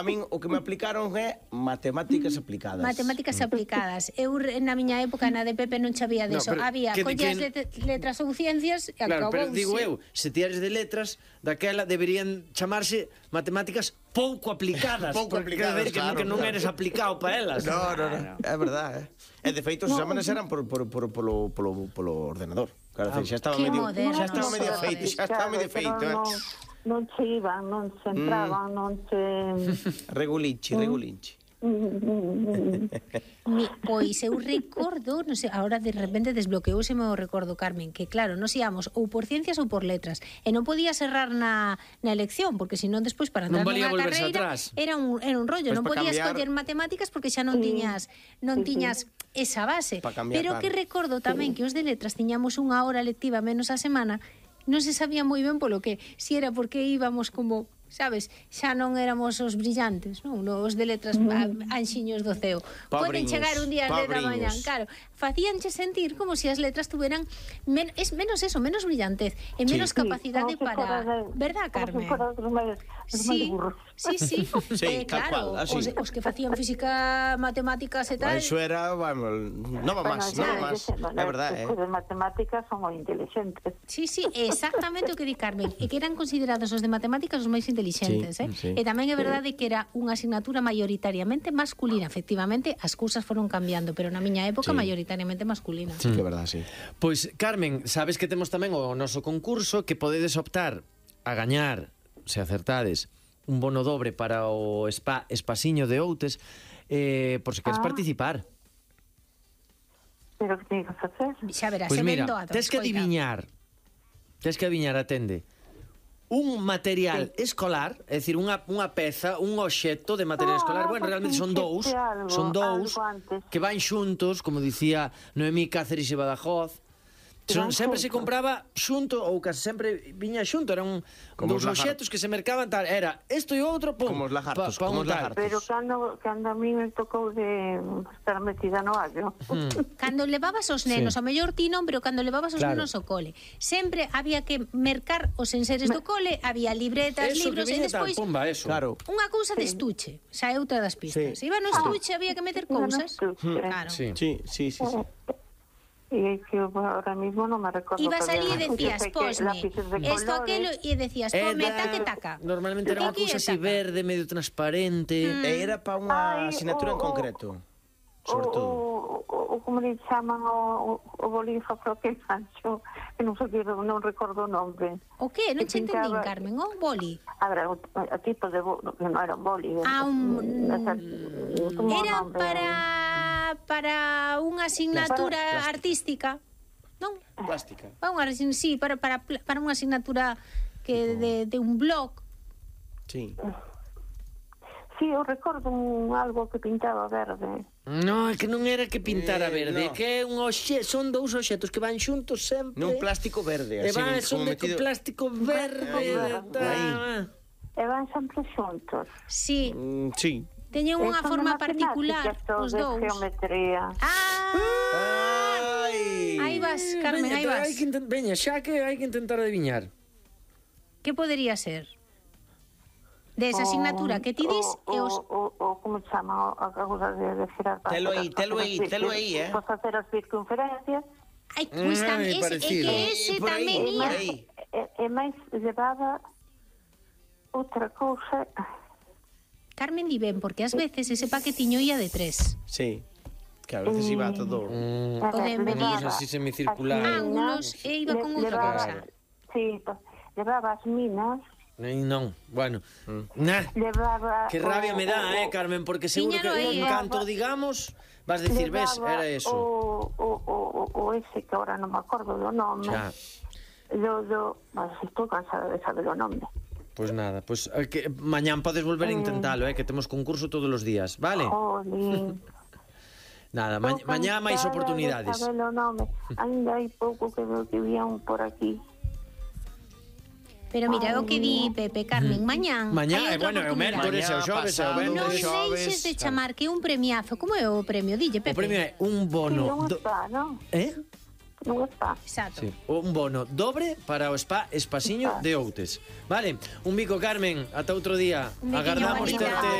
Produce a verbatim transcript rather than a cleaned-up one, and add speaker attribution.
Speaker 1: a min o que me aplicaron é matemáticas aplicadas.
Speaker 2: Matemáticas aplicadas. Eu na miña época na de Pepe non sabía
Speaker 3: No,
Speaker 2: deso.
Speaker 3: pero
Speaker 2: Había
Speaker 3: que-
Speaker 2: collas
Speaker 3: que-
Speaker 2: let- letras ou ciencias e
Speaker 3: Claro, pero
Speaker 2: acabouse.
Speaker 3: digo eu, se ti eres de letras, daquela deberían chamarse matemáticas pouco aplicadas.
Speaker 1: Pouco
Speaker 3: porque
Speaker 1: aplicadas,
Speaker 3: quer ver que,
Speaker 1: claro,
Speaker 3: que non
Speaker 1: claro.
Speaker 3: eres aplicado para elas.
Speaker 1: No, no, no, é verdade, eh. E de feito os exámenes eran por, por, por, polo, polo, polo ordenador. Claro, ah, xa estaba
Speaker 2: que
Speaker 1: medio,
Speaker 2: moderno,
Speaker 1: xa estaba medio
Speaker 2: sodes.
Speaker 1: feito, xa estaba medio feito, eh.
Speaker 4: Non, non se iban, non se entraban, mm. non se...
Speaker 1: Regulinchi, regulinchi.
Speaker 2: Mi, pois eu recordo, non sei, agora de repente desbloqueouse o recordo, Carmen, que claro, nos íamos ou por ciencias ou por letras, e non podías errar na, na elección, porque senón despois para
Speaker 3: Non
Speaker 2: entrar
Speaker 3: valía
Speaker 2: nunha
Speaker 3: volverse
Speaker 2: carreira
Speaker 3: atrás.
Speaker 2: era un, era un rollo,
Speaker 1: Pois
Speaker 2: non
Speaker 1: para
Speaker 2: podías
Speaker 1: cambiar-
Speaker 2: coller matemáticas porque xa non
Speaker 4: Sí.
Speaker 2: tiñas non
Speaker 4: Sí, sí.
Speaker 2: tiñas esa base.
Speaker 1: Pa cambiar,
Speaker 2: Pero
Speaker 1: claro.
Speaker 2: que recordo tamén que os de letras tiñamos unha hora lectiva menos a semana, non se sabía moi ben polo que, si era porque íbamos como, sabes, xa non éramos os brillantes, non? Os de letras a- anxiños do ceo. Poden
Speaker 1: Pobriños,
Speaker 2: chegar un día ás dez da mañá,
Speaker 1: pobriños.
Speaker 2: claro, facíanche sentir como se as letras tuveran men, es menos eso, menos brillantez e menos
Speaker 1: Sí.
Speaker 2: capacidade
Speaker 4: como se fora
Speaker 2: para,
Speaker 4: de-
Speaker 2: verdad,
Speaker 4: como
Speaker 2: Carmen?
Speaker 4: se fora dos máis, dos máis
Speaker 2: Sí,
Speaker 4: burros.
Speaker 2: sí, sí,
Speaker 1: Sí,
Speaker 2: eh,
Speaker 1: tal
Speaker 2: claro,
Speaker 1: cual, así.
Speaker 2: os, os que facían física, matemáticas e tal.
Speaker 1: Eso era, vamos, non va máis, non va máis. É verdade, eh.
Speaker 4: Os de matemáticas son moi inteligentes.
Speaker 2: Sí, sí, exactamente o que di Carmen, e que eran considerados os de matemáticas os máis intelixentes,
Speaker 1: Sí,
Speaker 2: eh?
Speaker 1: sí.
Speaker 2: E tamén é verdade que era unha asignatura maioritariamente masculina, efectivamente, as cousas foron cambiando, pero na miña época
Speaker 1: Sí.
Speaker 2: maioritariamente masculina.
Speaker 1: Sí, que é verdade, sí.
Speaker 3: Pois, Carmen, sabes que temos tamén o noso concurso que podedes optar a gañar, se acertades, un bono dobre para o spa Espasiño de Outes, eh, por se queres
Speaker 4: Ah.
Speaker 3: participar.
Speaker 4: Pero que teño que facer?
Speaker 2: Xa verás,
Speaker 3: Pois
Speaker 2: se
Speaker 3: mira,
Speaker 2: vendo a
Speaker 3: tes que adiviñar, tes que adiviñar, atende, un material escolar, é dicir, unha, unha peza, un obxecto de material
Speaker 4: Ah,
Speaker 3: escolar, bueno,
Speaker 4: pues
Speaker 3: realmente son dous,
Speaker 4: fixeste algo,
Speaker 3: son dous,
Speaker 4: algo antes.
Speaker 3: que van xuntos, como dicía Noemí Cáceres e Badajoz. Son,
Speaker 4: van
Speaker 3: sempre se
Speaker 4: xuntos.
Speaker 3: compraba xunto, ou casi sempre viña xunto, eran
Speaker 1: Como
Speaker 3: dous
Speaker 1: os lagartos.
Speaker 3: obxectos que se mercaban tal, era isto e outro, pum,
Speaker 1: Como os lagartos,
Speaker 3: pa, pa
Speaker 1: como
Speaker 3: un
Speaker 1: os
Speaker 3: tal.
Speaker 1: lagartos.
Speaker 4: Pero cando, cando a mí me tocou de estar metida no allo.
Speaker 2: Cando levabas os nenos,
Speaker 3: Sí.
Speaker 2: ao mellor ti non, pero cando levabas os
Speaker 3: Claro.
Speaker 2: nenos ao cole, sempre había que mercar os enseres do cole, había libretas,
Speaker 3: Eso
Speaker 2: libros
Speaker 3: que
Speaker 2: e
Speaker 3: viña tal,
Speaker 2: despois
Speaker 3: pumba, eso.
Speaker 1: Claro.
Speaker 2: unha cousa de estuche, xa é outra das pistas.
Speaker 1: Sí.
Speaker 2: Iba no estuche, había que meter
Speaker 4: Iba no
Speaker 2: cousas.
Speaker 4: estuche.
Speaker 2: Claro.
Speaker 3: Sí.
Speaker 1: Sí, sí, sí, sí.
Speaker 4: E que eu ahora mismo non me recordo.
Speaker 2: Ibas
Speaker 4: que
Speaker 2: ali e
Speaker 4: había
Speaker 2: decías,
Speaker 4: lápices,
Speaker 2: posme,
Speaker 4: lápices de
Speaker 2: esto,
Speaker 4: colores.
Speaker 2: aquelo, e decías,
Speaker 3: Era-
Speaker 2: ponme taca e taca.
Speaker 3: Normalmente era unha
Speaker 2: Taca e
Speaker 3: cousa así
Speaker 2: taca.
Speaker 3: verde, medio transparente.
Speaker 1: E era para unha
Speaker 4: Ai,
Speaker 1: asignatura en
Speaker 4: o- o-
Speaker 1: concreto,
Speaker 4: O,
Speaker 1: sobre todo.
Speaker 4: o, o, o como le chaman o, o, o bolígrafo que fancho, que non sei, non recordo o nome.
Speaker 2: O que? Non
Speaker 4: Que
Speaker 2: che entendín,
Speaker 4: pintaba-
Speaker 2: Carmen, o boli.
Speaker 4: A ver, o, o tipo de boli, que non era un boli.
Speaker 2: Ah, un-
Speaker 4: esa- como o
Speaker 2: Era
Speaker 4: nome.
Speaker 2: para para unha asignatura
Speaker 4: Para-
Speaker 2: artística, non?
Speaker 1: Plástica.
Speaker 2: Para unha, asign- sí, para, para, para unha asignatura que de, de un blog.
Speaker 1: Sí.
Speaker 4: Sí, eu recordo un, algo que pintaba verde.
Speaker 3: No, é que non era que pintara
Speaker 1: Eh,
Speaker 3: verde,
Speaker 1: no.
Speaker 3: que é un oxe, son dous obxetos que van xuntos sempre.
Speaker 1: Nun plástico verde,
Speaker 3: E
Speaker 1: así,
Speaker 3: van,
Speaker 1: como
Speaker 3: son de
Speaker 1: metido...
Speaker 3: plástico verde.
Speaker 4: verde.
Speaker 3: tal.
Speaker 1: Aí.
Speaker 4: E van sempre xuntos.
Speaker 2: Sí,
Speaker 1: Mm, sí.
Speaker 2: teñen unha
Speaker 4: E son
Speaker 2: forma
Speaker 4: de
Speaker 2: particular
Speaker 4: matemáticas,
Speaker 2: os
Speaker 4: de
Speaker 2: dous.
Speaker 4: geometría.
Speaker 2: Ah!
Speaker 1: Ai!
Speaker 2: Aí vas, Carmen,
Speaker 3: Veña,
Speaker 2: aí vas.
Speaker 3: hai que intent... Veña, xa que hai que intentar adiviñar.
Speaker 2: Que podería ser? De esa asignatura que ti dis
Speaker 4: o,
Speaker 2: e os...
Speaker 4: o, o, o como se chama a causa de, de girar para
Speaker 1: Telo aí, telo aí, telo aí, eh.
Speaker 4: Para facer as circunferencias.
Speaker 2: Ai, pois
Speaker 3: Mm,
Speaker 2: tamén, ese, é
Speaker 3: parecido.
Speaker 2: que ese
Speaker 1: Eh, por aí,
Speaker 2: tamén
Speaker 1: por
Speaker 2: ia.
Speaker 1: aí.
Speaker 4: E, e máis levaba outra cousa.
Speaker 2: Carmen di ben, porque ás veces ese paquetiño ia de tres.
Speaker 1: Sí. Que a veces iba todo...
Speaker 3: Mm,
Speaker 2: O de medir.
Speaker 3: Cousa así semicircular.
Speaker 4: as
Speaker 2: Ángulos
Speaker 4: minas,
Speaker 2: e iba con
Speaker 4: le-
Speaker 2: outra
Speaker 4: levaba-
Speaker 2: cousa.
Speaker 4: Sí, pa- levaba as minas,
Speaker 3: Nei, non, bueno. Nah,
Speaker 4: levaba...
Speaker 3: que rabia
Speaker 4: o-
Speaker 3: me dá,
Speaker 4: o-
Speaker 3: eh, Carmen, porque seguro que
Speaker 2: Tiñalo aí,
Speaker 3: en
Speaker 2: eh.
Speaker 3: canto digamos vas decir, ves,
Speaker 4: levaba
Speaker 3: era eso.
Speaker 4: O, o, o, o ese que ahora non me acordo do nome.
Speaker 3: Xa.
Speaker 4: Do, do, mas estou cansada de saber o nome.
Speaker 3: Pois nada, pois eh, que mañán podes volver a intentalo, eh, que temos concurso todos os días, vale?
Speaker 4: Jolín.
Speaker 3: Nada, ma
Speaker 4: Estou
Speaker 3: mañá máis
Speaker 4: cansada
Speaker 3: oportunidades.
Speaker 4: de saber o nome. Ainda hai pouco que veo que había un por aquí.
Speaker 2: Pero mira, é o que di Pepe, Carmen, mañán
Speaker 3: Mañá,
Speaker 2: hai
Speaker 3: eh,
Speaker 2: outra
Speaker 3: bueno, é o
Speaker 2: oportunidade.
Speaker 3: mércores, é o
Speaker 1: Mañá,
Speaker 3: xoves, é o
Speaker 1: pasado,
Speaker 2: Non
Speaker 3: venres.
Speaker 1: xoves,
Speaker 2: deixes de
Speaker 3: claro.
Speaker 2: chamar que é un premiazo. Como é o premio? Dille, Pepe.
Speaker 3: O premio é un
Speaker 4: Sí,
Speaker 3: bono...
Speaker 4: non
Speaker 3: do-
Speaker 4: está, non?
Speaker 3: Eh?
Speaker 4: Non está.
Speaker 2: Exacto.
Speaker 3: Sí. Un bono dobre para o spa Espasiño de Outes. Vale, un bico, Carmen, ata outro día.
Speaker 2: Un biquiño,
Speaker 3: Agardamos
Speaker 2: bonita.
Speaker 3: terte